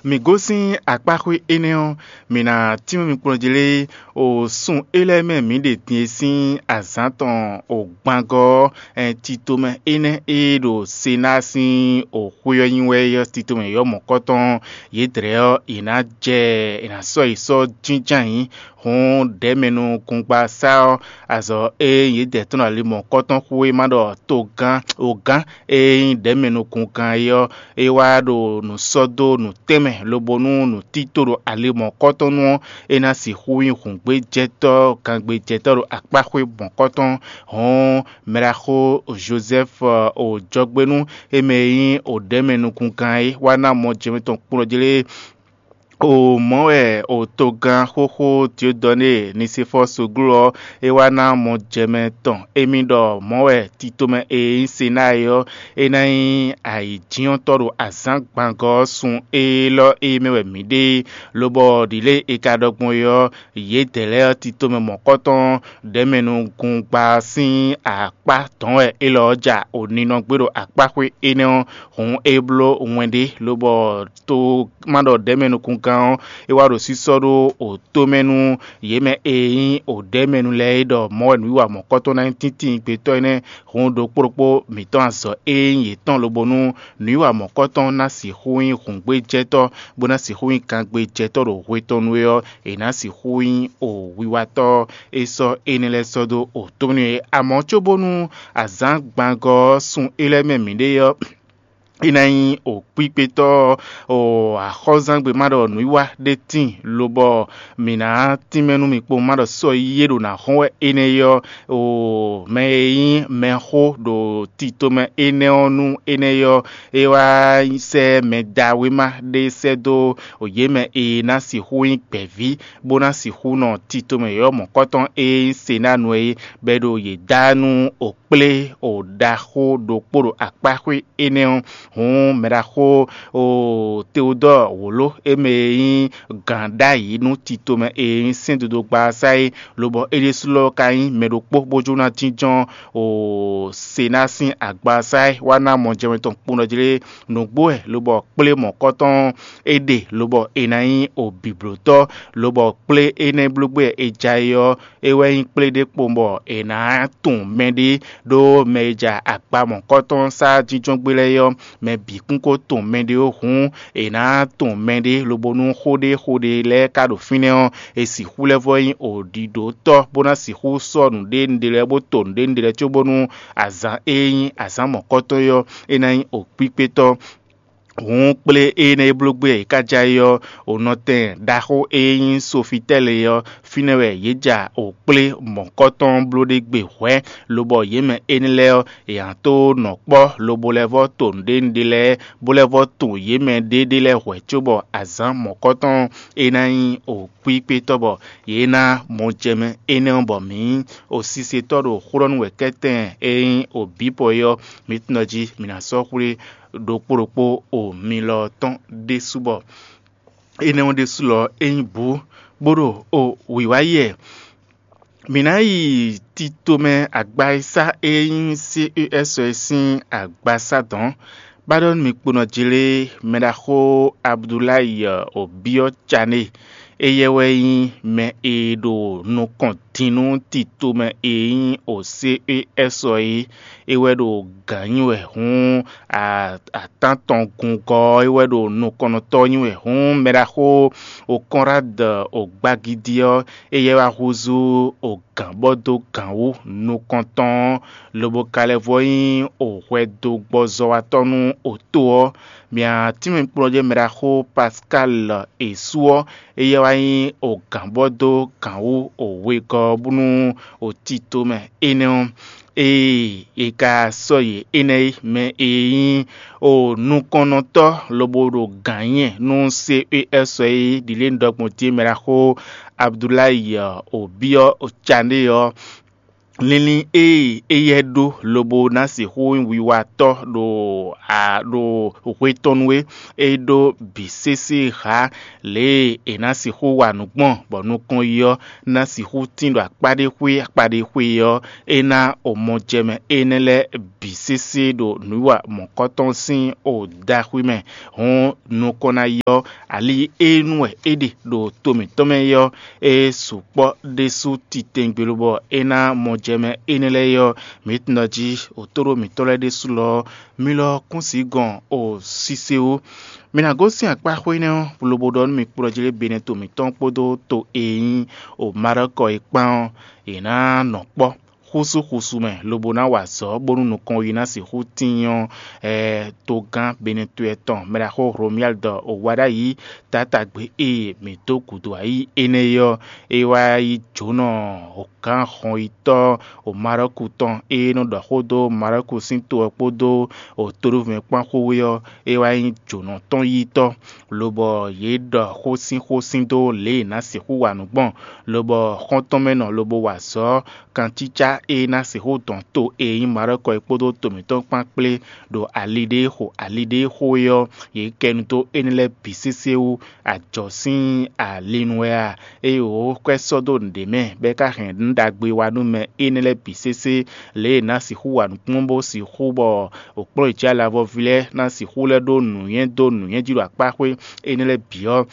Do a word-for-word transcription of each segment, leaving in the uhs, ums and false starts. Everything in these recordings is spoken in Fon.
Mǐ gosín akpáxwé énɛ́ ɔ́, mǐ ná tínmɛ mi kplɔ́n jí lé, o sun é lɛ́ɛ mɛ mǐ ɖe din e sín azǎn tɔn o gbangɔ́ ɔ́, titomɛ énɛ́ e ɖo Senáa sín o xwé ɔ́ nyi wɛ é ɔ́, titomɛ yɔ̌yɔ́ mɔ̌kɔtɔn yědɛɛ ɔ́, yě ná jɛ, è nǎ sɔ́ yě sɔ́ jínjɔ́n ayǐ. Hǔn ɖɛ̌mɛnukungba sá ɔ́, azɔ̌ e yědɛɛ tɔn ɖo ali mɔ̌kɔtɔn xwé ma ɖɔ togán ogán e nyí ɖɛ̌mɛnukungán é ɔ́, é wá ɖo nǔ sɔ́ dó nǔ tɛnmɛ, lobo nú nǔtító ɖo ali mɔ̌kɔtɔn nu ɔ́, é ná sixú nyí hǔngbéjɛtɔ́, gangbéjɛtɔ́ ɖo akpáxwé mɔ̌kɔtɔn. Hɔ̌n mɛɖaxó Jozɛ́fu o jɔgbénu e mɛ e nyí o ɖɛ̌mɛnukungán é wá ná mɔ jɛmɛ tɔn kplɔ́n jí lé. O mɔ̌ wɛ o togán xóxó Diodɔnée Nisefɔ́ɔ soglo ɔ́, é wá ná mɔ jɛmɛ tɔn émí ɖɔ mɔ̌ wɛ titomɛ e nyí Senáa é ɔ́, é ná nyí ayǐjínjɔ́ntɔ́ ɖo azǎn gbangɔ́ ɔ́ sun élɔ́ e mɛ wɛ mǐ ɖe é, lobɔ ɖǐlée è ka ɖɔ gbɔn é ɔ́, yědɛɛ lɛ́ɛ ɔ́, titomɛ mɔ̌kɔtɔn ɖɛ̌mɛnugungba sín akpá dɔ̌n wɛ élɔ́ ɔ́ ja o ninɔ gbé ɖo akpáxwé énɛ́ ɔ́, hǔn é bló wɛn ɖé, lobɔ to ma ɖɔ ɖɛ̌mɛnukungán ɔ́, é wá ɖo sísɔ́ ɖó o tó mɛ nú yě mɛ e nyí o ɖɛ̌mɛnu lɛ́ɛ é ɖɔ mɔ̌ wɛ nǔwiwa mɔ̌kɔtɔn ná nyí tíntín gbetɔ́ énɛ́. Hǔn ɖokpó ɖokpó mǐtɔn azɔ̌ e nyí yětɔn lobo nú nǔwiwa mɔ̌kɔtɔn ná sixú nyí hǔngbéjɛtɔ́, bó ná sixú nyí kangbéjɛtɔ́ ɖo hwe tɔn nu é ɔ́, è nǎ sixú nyí o wiwatɔ́ e sɔ́ énɛ́ lɛ́ɛ sɔ́ dó o tó mɛ nú é. Amɔ̌ cóbónú azǎn gbangɔ ɔ́ sun é lɛ́ɛ mɛ mǐ ɖe ɔ́, é ná nyí o kpíkpétɔ́ o axɔ́zángbé ma ɖɔ nǔwiwa ɖé tíin, lobɔ mǐ ná tínmɛ nú mi kpowun ma ɖɔ sɔ́ yí é ɖo nǎ hɔn wɛ énɛ́ ɔ́, o mɛ e nyí mɛxó ɖo titomɛ énɛ́ ɔ́ nú énɛ́ ɔ́, é wá sɛ́ mɛ da wéma ɖé sɛ́ dó yě mɛ e ná sixú nyí gbɛ̌ví, bó ná sixú nɔ titomɛ yɔ̌yɔ́ mɔ̌kɔtɔn e nyí Senáa nu é, bɔ é ɖo yě da nú o kplé o ɖaxó ɖokpó ɖo akpáxwé énɛ́ ɔ́. Hǔn mɛɖaxó o Teodɔ́ɔ wǒló e mɛ e nyí gǎn ɖ'ayǐ nú titomɛ e nyí sɛ́ndodogba ɔ́ sá é, lobɔ é ɖésú lɔ ka nyí mɛ ɖokpó bó jló ná jínjɔ́n o Senáa sín agba ɔ́ sá é, wá ná mɔ jɛmɛ tɔn kpowun ɖɔ jí lé. Nǔgbó wɛ lobɔ kplé mɔ̌kɔtɔn é ɖe, lobɔ è nǎ nyí o bǐblótɔ́, lobɔ kplé énɛ́ bló gbé wɛ è ja é ɔ́, é wɛ nyí kplé ɖé kpowun bɔ è nǎ tunwun mɛɖé ɖó mɛ e ja agba mɔ̌kɔtɔn sá jínjɔ́n gbé lɛ́ɛ é ɔ́, mɛ bǐ kún ko tunwun mɛɖé ó. Hǔn è nǎ tunwun mɛɖé, lobo nú xó ɖé xó ɖé lɛ́ɛ ka ɖo fínɛ́ ɔ́, è sixú lɛ́ vɔ́ nyí o ɖiɖǒtɔ́, bó ná sixú sɔ́ nǔɖé nǔɖé lɛ́ɛ bó to nǔɖé nǔɖé lɛ́ɛ cóbónú azǎn e nyí azǎn mɔ̌kɔtɔn é ɔ́, é ná nyí o kpíkpétɔ́. Hǔn kplé énɛ́ e bló gbé e ka ja é ɔ́, o nɔtɛn ɖaxó e nyí Sofitɛ́li é ɔ́, fínɛ́ wɛ yě ja o kplé mɔ̌kɔtɔn bló ɖé gbe hwɛ̌, lobɔ yě mɛ énɛ́ lɛ́ɛ ɔ́, è nǎ tó nɔ kpɔ́ lobo lɛ́ vɔ́ to nǔɖé nǔɖé lɛ́ɛ, bó lɛ́ vɔ́ tunwun yě mɛ ɖéɖé lɛ́ɛ hwɛ̌ cóbɔ azǎn mɔ̌kɔtɔn e ná nyí o kpíkpétɔ́ bɔ yě ná mɔ jɛ mɛ énɛ́ ɔ́, bɔ mǐ nyí o sisetɔ́ ɖo xó ɖɔ nú wɛ kɛ́tɛn e nyí o bǐ pɔ é ɔ́, mǐ tunɔ jí mǐ ná sɔ́ xwlé ɖokpó ɖokpó o mi lɔ tɔn ɖésú bɔ énɛ́ ɔ́ ɖésú lɔ é nyí bǔ, bó ɖo o wǐwá yɛ. Mǐ ná yi titomɛ agba e sá e nyí C E S ɔ́ sín agbasá dɔ̌n. Ba ɖɔ nú mi kponɔ jlé mɛɖaxó Abudulayi Obiɔ Cané, éyɛ́ wɛ nyí mɛ e ɖo nukɔn din nú titomɛ e nyí o C E S ɔ́ é. É wɛ ɖo gǎn nyi wɛ hǔn, atán tɔn gungɔ ɔ́, é wɛ ɖo nukɔnnɔtɔ́ nyi wɛ hǔn mɛɖaxó o Kɔnrád o gbagidi ɔ́, éyɛ́ wá húzú o gǎn bɔ dó gǎn wú nukɔntɔn ɔ́, lobo ka lɛ́ vɔ nyí o hwɛdogbɔzɔ́watɔ́ nú oto ɔ́. Mia tínmɛ kplɔ́njɛ́ mɛɖaxó Pascal Esu ɔ́, éyɛ́ wá nyí o gǎn bɔ dó gǎn wú o wegɔ́ ɔ́ bú nú o tito mɛ énɛ́ ɔ́. Ée è ka sɔ́ yě énɛ́ é, mɛ e nyí o nukɔnnɔtɔ́ lobo ɖo gǎn nyɛ nú C E S ɔ́ é, ɖi lě un ɖɔ gbɔn din mɛ ɖaxó Abudulayi Obiɔ Cané ɔ́, Linlin e éyɛ́ ɖó lobo ná sixú nyí wiwatɔ́ ɖo a ɖo hwe tɔn nu é, é ɖó bǐ sésé hǎ. Lě e è nǎ sixú wa nǔ gbɔn bɔ nukɔn yi ɔ́ ná sixú tín ɖo akpá ɖé xwé akpá ɖé xwé ɔ́, é ná o mɔ jɛ mɛ énɛ́ lɛ́ɛ bǐ sésé ɖo nǔwiwa mɔ̌kɔtɔn sín o ɖaxwí mɛ. Hǔn nukɔn ná yi ɔ́, ali e nu wɛ é ɖe ɖo to mǐtɔn mɛ é ɔ́, é sukpɔ́ ɖésú titewungbe lobɔ é ná mɔ jɛ mɛ énɛ́ lɛ́ɛ é ɔ́, mǐ tunwun ɖɔ jí otóɖó mǐtɔn lɛ́ɛ ɖésú lɔ ɔ́, mi lɔ kún sǐ gɔn o sise wú. Mi ná gosín akpá xwé énɛ́ ɔ́, lobo ɖɔ nú mi kplɔ́ jí lé Benɛto mǐtɔn kpódó to e nyí o Marɔ́kɔ é kpán ɔ́, yě ná nɔ kpɔ́ xúsúxúsú mɛ lobo ná wa azɔ̌ bónú nukɔn yi ná sixú tíin ɔ́, togán Benɛto tɔn mɛɖaxó Hlomyáli ɖɔ o wa ɖ'ayǐ taátagbe e mǐ dó gǔdo ayǐ énɛ́ é ɔ́, é wá yí jǒnɔ gǎn hɔnyitɔ́ o Marɔ́ku tɔn e nɔ ɖɔ xó dó Marɔ́ku sín to ɔ́ kpódó o toɖóvumɛ kpán xwé ɔ́, é wá nyí jǒnɔ tɔn yítɔ́, lobɔ yě ɖɔ xó sín xó sín dó lě e è nǎ sixú wa nǔ gbɔn, lobɔ xɔ́ntɔn mɛ nɔ lobo wa azɔ̌ kancícá e ná sixú dɔn to e nyí Marɔ́kɔ é kpódó to mǐtɔn kpán kplé ɖo ali ɖé xo ali ɖé xo é ɔ́, yě kɛ nu dó énɛ́ lɛ́ɛ bǐ sésé wú. Ajɔ̌ sín ali nu wɛ a? Ée wǒ kwɛ́ sɔ́ dó nǔɖé mɛ, bɔ é ka hɛn nǔ ɖagbe wá nú mɛ énɛ́ lɛ́ɛ bǐ sésé, lě e è nǎ sixú wa nǔkplɔ́n bó sixú bɔ wǒkplɔ́n yě jí alavɔví lɛ́ɛ ná sixú lɛ́ ɖó nǔnywɛ́ dó nǔnywɛ́ jí ɖo akpá xwé énɛ́ lɛ́ɛ bǐ ɔ́,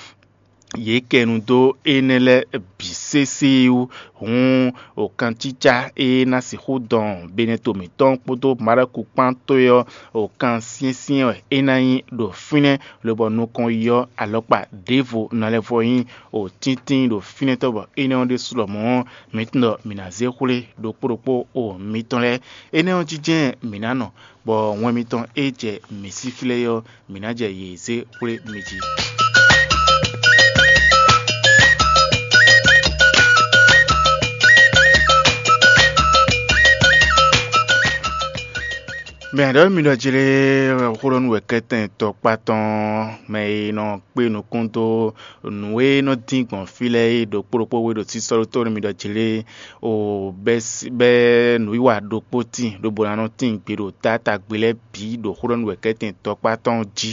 yě kɛ nu dó énɛ́ lɛ́ɛ bǐ sésé wú. Hǔn, wǒkancícá e ná sixú dɔn Benɛto mǐtɔn kpódó Maɖɔku kpán towe ɔ́, wǒkan syɛ́nsyɛ́n wɛ é ná nyí ɖo fínɛ́, lobɔ nukɔn yi ɔ́, alɔkpa ɖěvo ná lɛ́ vɔ nyí wǒtíntín ɖo fínɛ́ tɔn, bɔ énɛ́ ɔ́ ɖésú lɔmɔ̌ ɔ́, mǐ tunwun ɖɔ mǐ ná zé xwlé ɖokpó ɖokpó o mitɔn lɛ́ɛ. Énɛ́ ɔ́ jínjɛ́n mǐ ná nɔ, bɔ wɛn mitɔn e jɛ mǐ sí xlɛ́ é ɔ́, mǐ ná jɛ yě zé xwlé mi jí. Mɛ ǎ ɖɔ mi ɖɔ jlé xó ɖɔ nú wɛ kɛ́tɛn tɔkpá tɔn mɛ e nɔ kpé nukún dó nǔ e nɔ dín gbɔn fí lɛ́ɛ é ɖokpó ɖokpó we ɖo sísɔ́ ɖó tó nú mi ɖɔ jlé o bɛ́ bɛ́ nǔwiwa ɖokpó tíin lobo ná nɔ tíin gbe ɖo taátagbe lɛ́ɛ bǐ ɖo xó ɖɔ nú wɛ kɛ́tɛn tɔkpá tɔn jí,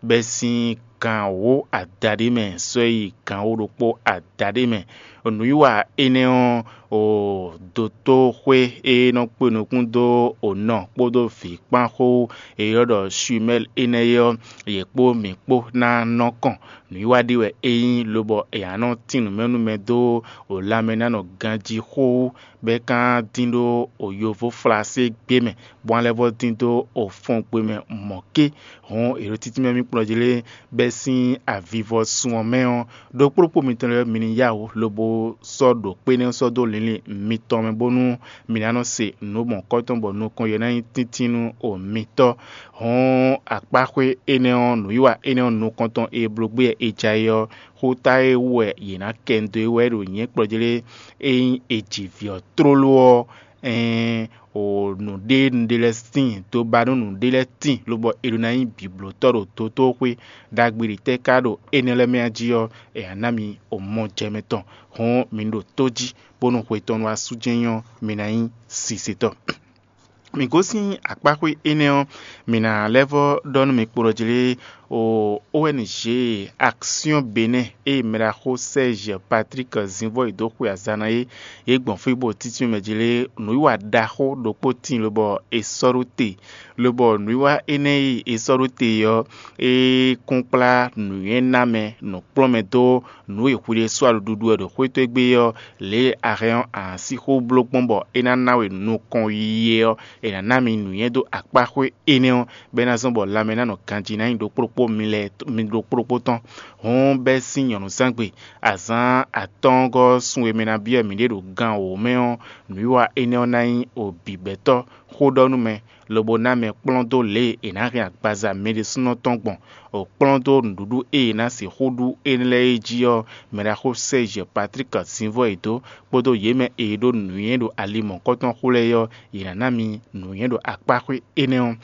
bɛ́ sín gan wǒ adaɖé mɛ sɔ́ yi gan wǒ ɖokpó adaɖé mɛ. Nǔwiwa énɛ́ ɔ́, o dotóxwé e nɔ kpé nukún dó o nɔ kpódó vǐ kpán xó e ylɔ́ ɖɔ Shumɛ́li énɛ́ é ɔ́, yě kpó mǐ kpó ná nɔ kɔn. Nǔwiwa ɖé wɛ é nyí, lobɔ è nǎ nɔ tín nǔ mɛ nú mɛ dó o lanmɛ ná nɔ ganjí xó wú, bɔ é ka dín ɖó o yovó flaségbé mɛ, bɔ a lɛ́ vɔ dín dó o fɔngbe mɛ mɔ̌ ké. Hǔn è ɖo títí mɛ mì kplɔ́n jí lé, bɛ́ sín avivɔsun ɔ́ mɛ ɔ́, ɖokpó ɖokpó mitɔn lɛ́ɛ mi ní yá wǔ lobo sɔ́ ɖo kpé nɛ́ sɔ́ dó linlin mitɔn mɛ, bónú mi ná nɔ se nǔ mɔ̌kɔtɔn bɔ nukɔn yě ná nyí tíntín nú o mitɔ́. Hɔn akpáxwé énɛ́ ɔ́, nǔwiwa énɛ́ ɔ́ nukɔntɔn e bló gbé wɛ è ja é ɔ́, xóta e wú wɛ yě ná kɛ nu dó é wɛ ɖo nyɛ̌kplɔ́ jí lé, ényí è ji vǐ ɔ́ tlóló ɔ́, ɛɛn, o nǔɖé nǔɖé lɛ́ɛ tíin, dó ba nú nǔɖé lɛ́ɛ tíin, lobɔ è ɖó ná nyí bǐblótɔ́ ɖo dotóxwé ɖagbe ɖě tɛ́ ka ɖo énɛ́ lɛ́ɛ mɛ jí ɔ́, è nǎ ná mi o mɔ jɛ mɛ tɔn. Hɔn mi ɖo tó jí, bónú hwe tɔn nú asú jɛ́n nyɔ́, mi ná nyí sisetɔ́. Mǐ gosín akpáxwé énɛ́ ɔ́, mǐ ná lɛ́ vɔ́ ɖɔ nú mi kpo ɖɔ jlé o O N G Action Benin e mɛɖaxó Serge Patrick Zinvɔ́yi dó xwe azǎn ná é, yě gbɔn fí bó títí mɛ jlé nǔwiwa ɖaxó ɖokpó tíin lobɔ è sɔ́ ɖó te, lobɔ nǔwiwa énɛ́ e è sɔ́ ɖó te ɔ́, é kún kplá nǔnywɛ́ ná mɛ nǔkplɔ́nmɛ dó nǔ e hwi ɖésú a ɖo ɖuɖu wɛ ɖo xwé towe gbe ɔ́, lě e a hɛn ɔ́, a nǎ sixú bló gbɔn bɔ é ná ná we nukɔn yiyi é ɔ́, è nǎ ná mi nǔnywɛ́ dó akpáxwé énɛ́ ɔ́, bɔ é ná zɔ́n bɔ lanmɛ ná nɔ ganjí ná nyí ɖokpó ɖokpó mi lɛ́ɛ mi ɖokpó ɖokpó tɔn. Hǔn bɛ́ sín nyɔ̌nuzángbe azǎn atɔ́ɔ́ngɔ́ ɔ́ sun e mɛ ná byɔ́ mǐɖée ɖo gan wǒ mɛ ɔ́, nǔwiwa énɛ́ ɔ́ ná nyí o bǐbɛ́tɔ́ xó ɖɔ nú mɛ, lobo ná mɛ kplɔ́n dó lě e è nǎ hɛn agbaza mɛ ɖésúnɔ tɔn gbɔn, o kplɔ́n dó nǔɖuɖu e è nǎ sixú ɖu énɛ́ lɛ́ɛ é jí ɔ́, mɛɖaxó Serge Patrick Zinvɔ́yi dó kpódó yě mɛ e ɖó nǔnywɛ́ ɖo ali mɔ̌kɔtɔn xó lɛ́ɛ ɔ́, yě ná ná mi nǔnywɛ́ ɖo akpáxwé énɛ́ ɔ́.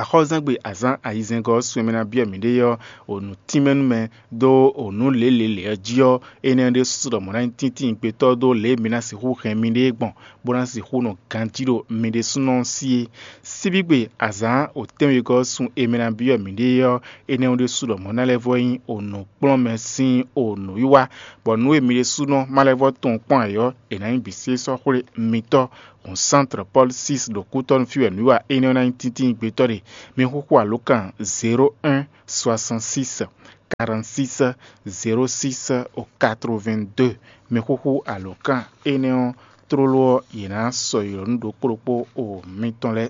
Axɔ́zɛ́ngbe azǎn ayizɛ́ngɔ́ ɔ́ sun e mɛ ná byɔ́ mǐɖée ɔ́, o nǔ tínmɛ nú mɛ dó o nǔ lělělě ɔ́ jí ɔ́, énɛ́ ɔ́ ɖésú ɖɔ mɔ̌ ná nyí tíntín gbetɔ́ dó lě e mi ná sixú hɛn miɖée gbɔn, bó ná sixú nɔ ganjí ɖo mi ɖésúnɔ ɔ́ sí é. Síbígbe azǎn o tɛ́nwegɔ́ ɔ́ sun e mɛ ná byɔ́ mǐɖée ɔ́, énɛ́ ɔ́ ɖésú ɖɔ mɔ̌ ná lɛ́ vɔ́ nyí o nǔkplɔ́nmɛ sín o nǔwiwa, bɔ nǔ e mi ɖésúnɔ ma lɛ́ vɔ́ tunwun kpɔ́n ǎ ɔ́, è nǎ nyí bǐ sí sɔ́ xwlé mitɔ́. Hǔn Sántre Pɔ́lu sísi ɖo kútɔ́ nú fí wɛ nǔ e wa énɛ́ ɔ́ ná nyí tíntín gbetɔ́ ɖe. Mi xúxú alǒkan zéro un soixante-six quarante-six zéro six quatre-vingt-deux. Mi xúxú alǒkan énɛ́ ɔ́ tlóló ɔ́, yě ná sɔ́ ylɔ̌ nú ɖokpó ɖokpó o mitɔn lɛ́ɛ.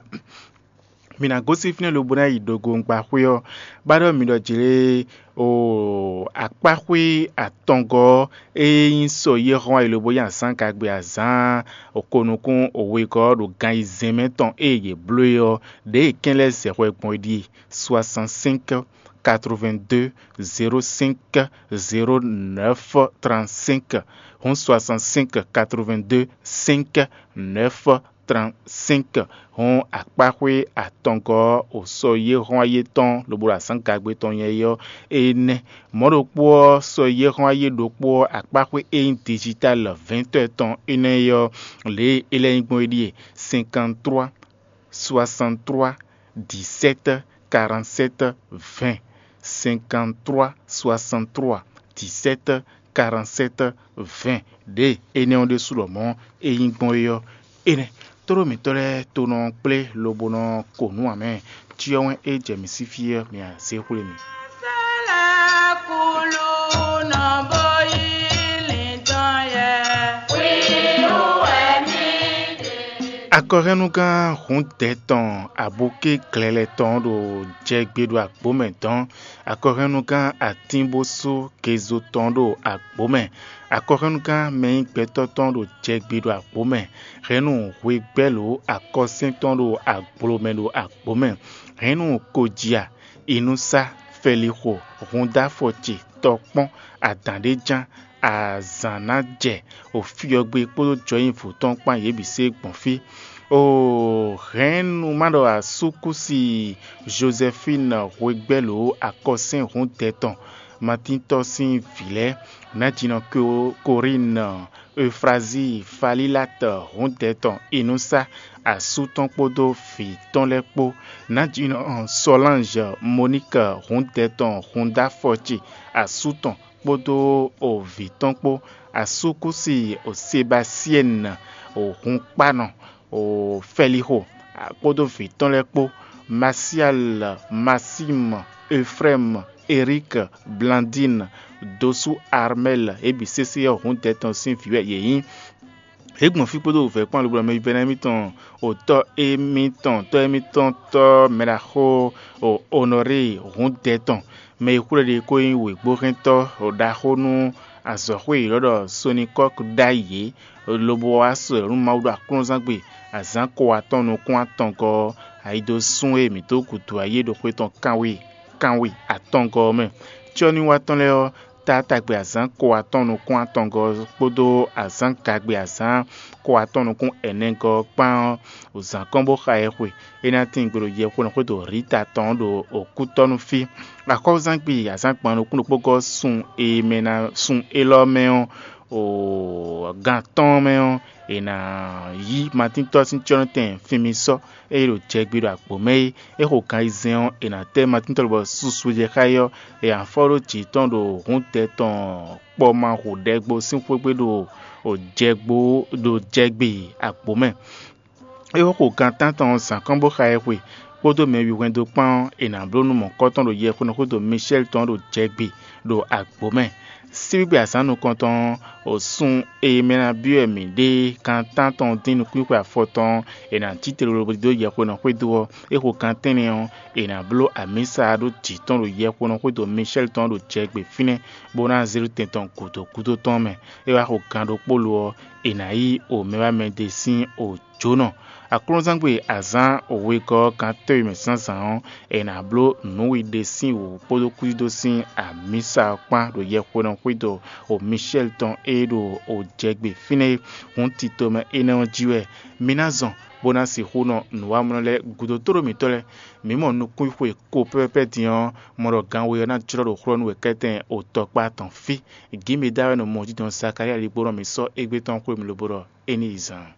Mi ná gosín fínɛ́ lobo ná yi ɖogogbáxwé ɔ́, bá ɖɔ mi ɖɔ jlé o akpáxwé atɔngɔ́ ɔ́, ée nyí sɔ yɛ́ hɔn ayi lobo nyí azǎn gagbe azǎn okonukún wegɔ́ ɔ́ ɖo gan ayizɛ́n mɛ tɔn ée yě bló é ɔ́, ɖěe kɛ́n lɛ́ zɛ hwɛ gbɔn é ɖíe: soixante-cinq quatre-vingt-deux zéro cinq zéro neuf trente-cinq, hǔn soixante-cinq quatre-vingt-deux cinq neuf trente-cinq. Hǔn akpáxwé atɔngɔ́ ɔ́, o sɔ yé hɔn ayé tɔn lobo ɖo azǎn gagbe tɔn nyɛ é ɔ́, énɛ́. Mɔ̌ ɖokpó ɔ́, sɔ yé hɔn ayé ɖokpó ɔ́, akpáxwé e nyí digital vɛ̌ntɔ́ tɔn énɛ́ é ɔ́, lě e é lɛ́ nyí gbɔn é ɖíe: cinquante-trois soixante-trois dix-sept quarante-sept vingt, cinquante-trois soixante-trois dix-sept quarante-sept vingt. Ɖě énɛ́ ɔ́ ɖésú lɔmɔ̌ é nyí gbɔn é ɔ́, énɛ́. Tlóló mǐtɔn lɛ́ɛ to nɔ kplé lobo nɔ ko nǔ ǎ mɛ. Cyɔ wɛn e jɛ mǐ sí fí ɔ́, mi a zě xwlé mì. Akɔhɛ́nnugán hǔndɛ tɔn abukí glɛlɛ tɔn ɖo jɛgbe ɖo agbǒ mɛ dɔn. Akɔhɛ́nnugán atínbósú gezo tɔn ɖo agbǒ mɛ. Akɔhɛ́nnugán mɛ nyí gbɛtɔ́ tɔn ɖo jɛgbe ɖo agbǒ mɛ. Hɛ̌nnu hwegbɛ́lǒ akɔsɛ́n tɔn ɖo agblo mɛ ɖo agbǒ mɛ. Hɛ̌nnu kojia, inúsá, fɛlixo, húndáfɔ ce, tɔkpɔ́n, adǎn ɖé ján, azǎn ná jɛ, o fyɔgbe kpódó jɔnyivǔ tɔn kpán yě bǐ se gbɔn fí. O hɛ̌nnu má ɖɔ asúkúsi Jozɛfín hwegbɛ́lǒ akɔsɛ́n hǔndɛ tɔn, Matíntɔ́ sín vǐ lɛ́ɛ, nǎjínɔ Korín, Eufrazíi, Falílat hǔndɛ tɔn Inúsá asú tɔn kpódó vǐ tɔn lɛ́ɛ kpó, nǎjínɔ Sɔlánj, Moník hǔndɛ tɔn húndáfɔ ce asú tɔn kpódó vǐ tɔn kpó, asúkúsi Sebasiɛ́n, hunkpánɔ Fɛlixo kpódó vǐ tɔn lɛ́ɛ kpó, Masial, Masín, Eflɛ́m, Erík, Blandín, dosú Armɛ́l, yě bǐ sésé ɔ́ hǔndɛ tɔn sín vǐ wɛ yě nyí. Yě gbɔn fí kpódó wǔvɛ́ kpán lobo ɔ́ mɛ vívɛ́ná émítɔn, o tɔ́ émítɔn, tɔ́ émítɔn tɔ́ mɛɖaxó Onɔríi hǔndɛ tɔn, mɛ e xwlé ɖe kó nyí wěgbóhɛntɔ́ ɖaxó nú azɔ̌xwé yěɖɔ́ ɖɔ Sonikɔ́k ɖ'ayǐ é, lobo wá sɔ́ nú Mawu ɖo aklúnɔzángbe azǎn ko atɔn nukún atɔngɔ́ ɔ́, ayi dó sún e mǐ dó gǔdo ayé ɖo xwe tɔn kanwe kanwe atɔngɔ́ ɔ́ mɛ. Cyɔ́nywatɔ́ lɛ́ɛ ɔ́, taátagbe azǎn ko atɔn nukún atɔngɔ́ ɔ́ kpódó azǎn gagbe azǎn ko atɔn nukún ɛnɛgɔ́ ɔ́ kpán ɔ́, zǎn kɔn bó xa ɛ xwe. É ná tín gbe ɖo yɛxwenu xwédo Rita tɔn ɖo òkútɔ́ nú fí. Axɔ́zán gbi azǎn gban nukún ɖokpó gɔ́ sun e mɛ ná sun élɔ́ mɛ ɔ́, o gan tɔn mɛ ɔ́, è nǎ yí Matíntɔ́ sín cyɔ́nɔtɛn fin mi sɔ́, ée ɖo jɛ gbi ɖo agbǒ mɛ é. É xo gan ayizɛ́n ɔ́, è nǎ tɛ́ Matíntɔ́ lobɔ susu jɛ xá é ɔ́, è nǎ fɔ ɖó jǐ tɔn ɖo hǔndɛ tɔn kpɔmahǔɖɛgbo sín xwé gbe ɖo jɛgbo ɖo jɛgbe agbǒ mɛ. É xo gan tántɔn zǎn kɔn bó xa ɛ xwe, kpódó mɛ wihwɛndo kpán ɔ́, è nǎ bló nú mɔ̌kɔ́tɔn ɖo yɛxwenu xwédo Mishɛ́li tɔn ɖo jɛgbe ɖo agbǒ mɛ. Síbígbe azǎn nukɔntɔn ɔ́, sun e mɛ ná byɔ́ wɛ mǐ ɖe gan tántɔn dín nukúnxwe afɔtɔn ɔ́, è nǎ cí te lolobo dó yɛxwenu xwédo ɔ́, é xo gan tɛ́nnɛ ɔ́, è nǎ bló amǐsa ɖó jǐ tɔn ɖo yɛxwenu xwédo Mishɛ́li tɔn ɖo jɛgbe fínɛ́, bó ná zé ɖó tɛn tɔn gǔdo gúdo tɔn mɛ. É wá xo gan ɖokpó lo ɔ́, è nǎ yí o mɛ wá mɛ ɖé sín o jǒnɔ. Aklúnɔzángbe azǎn wegɔ́ ɔ́ gán tɛ́nwe mɛ zǎnzǎn ɔ́, è nǎ bló nǔwiɖe sín wǔ kpódó kwídó sín amǐsa ɔ́ kpán ɖo yɛxwenu xwédo o Mishɛ́li tɔn e ɖo o jɛgbe fínɛ́ é. Hǔn tito mɛ énɛ́ ɔ́ jí wɛ mi ná zɔn bó ná sixú nɔ nǔwamlɔ lɛ́ɛ gúdo tóɖó mǐtɔn lɛ́ɛ. Mǐ mɔ nukúnxwe ko pɛ́pɛ́pɛ́ din ɔ́, mɔ ɖɔ ganwe ɔ́ ná jlɔ́ ɖo xlɔ́ nú wɛ kɛ́tɛn otɔ́kpá tɔn fí. Gǐ mi dá wɛ nɔ mɔ jínjɔ́n Zakalía ligbó nɔ mǐ sɔ́ égbé tɔn xwé mì lobo ɖɔ é ní yi zaan.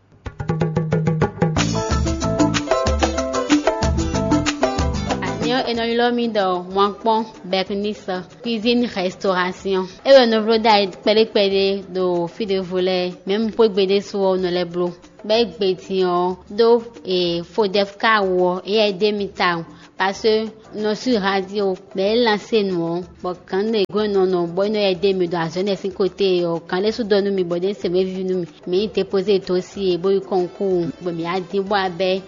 Ani ɔ́, è nɔ ylɔ́ mì ɖɔ Mwankpɔ́n Bɛknisɔ, cuisine restauration. É wɛ nɔ bló ɖ'ayǐ kpɛɖé kpɛɖé ɖo fí ɖěvo lɛ́ɛ, mɛ̌ un xwé gbe ɖésú ɔ́, un nɔ lɛ́ bló. Bɔ é gbe din ɔ́, ɖó e Fodɛfka wú ɔ́, éyɛ́ é ɖe mì tawun, parce que un nɔ sú radio, bɔ é lansé nǔ ɔ́, bɔ gǎn ɖě gɔ́n nɔ nɔ bɔ é nɔ yɛ ɖe mì ɖo azɔ̌ énɛ́ sín côté ɔ́, gǎn ɖé sú ɖɔ nú mì bɔ ɖě se mɛ víví nú mì. Mǐ yi dépozé dó sí e bó yi kɔnkúu, bɔ mǐ wá dín bó wá bɛ́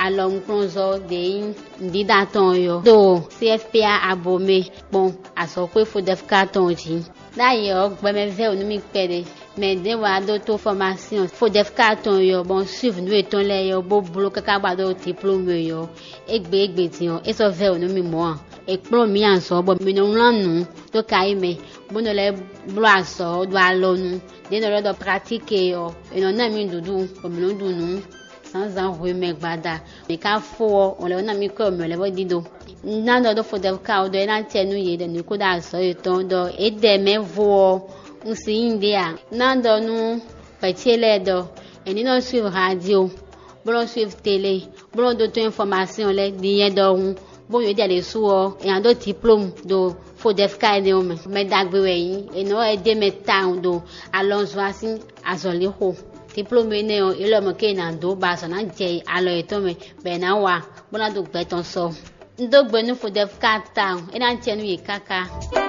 alɔnukplɔ́nzɔ́ ɖě nyí nǔɖíɖa tɔn ɔ́ ɖo C F P A Abomé kpɔ́n azɔ̌xwé Fodɛfka tɔn jí. Ɖ'ayǐ ɔ́, gbɛmɛ vɛ́ wǔ nú mì kpɛɖé. Mɛ ɖěvo wá ɖótó fɔmásyɔn Fodɛfka tɔn ɔ́, bɔ un suiv nǔ yětɔn lɛ́ɛ ɔ́, bó bló káká bɔ a ɖó diplôme ɔ́, égbé égbé din ɔ́, é sɔ́ vɛ́ wǔ nú mì mɔ̌ ǎ. È kplɔ́n mǐ azɔ̌ bɔ mǐ nɔ wlán nǔ dó kayi mɛ, bó nɔ lɛ́ bló azɔ̌ ɖo alɔnu. Ɖě nɔ ɖɔ ɖɔ pratique ɔ́, è nɔ ná mì nǔɖuɖu, bɔ mǐ nɔ ɖu nǔ zǎnzǎn hwemɛ gbada. Mǐ ka fó ɔ́, wǒn lɛ́ɛ ná mì kɔ́ mǐ lɛ́ɛ bó ɖíɖó. Un ná ɖɔ ɖó Fodɛfka ɔ́ ɖɔ é ná acɛ nú yě ɖɔ nǔ kó ɖo azɔ̌ yětɔn ɖɔ é ɖɛ mɛ vo ɔ́, un si nyí ɖě ǎ. Un ná ɖɔ nú hwɛ ce lɛ́ɛ ɖɔ è ní nɔ suiv radio, bó nɔ suiv télé, bó nɔ ɖótó infɔmasyɔn lɛ́ɛ ɖi nyɛ ɖɔhun, bó nyɔ̌ ɖi ɖésú ɔ́, è nǎ ɖó diplôme ɖo Fodɛfka énɛ́ ɔ́ mɛ. Mɛ ɖagbe wɛ é nyí, è nɔ wɛ dó mɛ tawun ɖo alɔnzɔ́ sín azɔ̌lixo. Diplôme énɛ́ ɔ́, é lɔ mɔ̌ ké è nǎ dó bɔ azɔ̌ ná jɛ alɔ yětɔn mɛ, bɔ è nǎ wa, bó ná ɖo gbɛ tɔn sɔ. Un dó gbe nú Fodɛfka tawun, é ná jɛ nú yě káká.